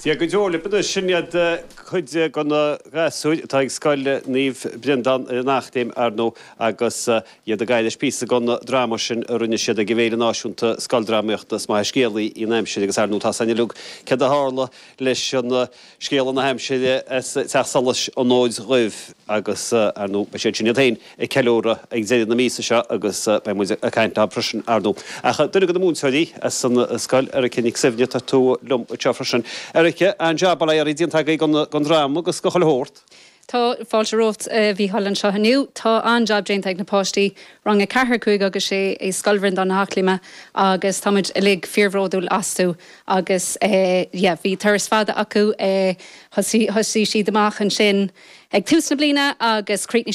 Dia go deo libh anois, sin iad cuid de na gasúir atá ag Scoil Naomh Breandán ar an Eachléim, ar ndóigh, agus iad ag éirí píosa den dráma sin a rinne siad ag an bhFéile Náisiúnta Scoildrámaíochta Is maith an scéalaí í an aimsir agus ar ndóigh tá a fhios againn uilig céard a tharla leis an scéala na haimsire as Teach Solais an Fhóid Dhuibh agus ar ndóigh beidh siad sin iad féin ag ceiliúradh ag deireadh na míosa seo agus beidh muid ag caint leo freisin, ar ndóigh. Ach duine de na múinteoirí as an scoil, Erica Nic Suibhne, tá tú liom anseo freisin. Erica, an-jab bail ó Dhia oraibh déanta agaibh den dráma agus de chuile shórt. Tá, fáilte romhat a Mhícheáil anseo inniu. Tá an-jab déanta ag na páistí, rang 4, 5 agus 6 i Scoil Bhreandáin na hEachléime agus tá muid uilig fíorbhródúil astu agus yeah bhí turas fada acu, thosaigh siad amach ansin ag tús na bliana agus chríochnaigh.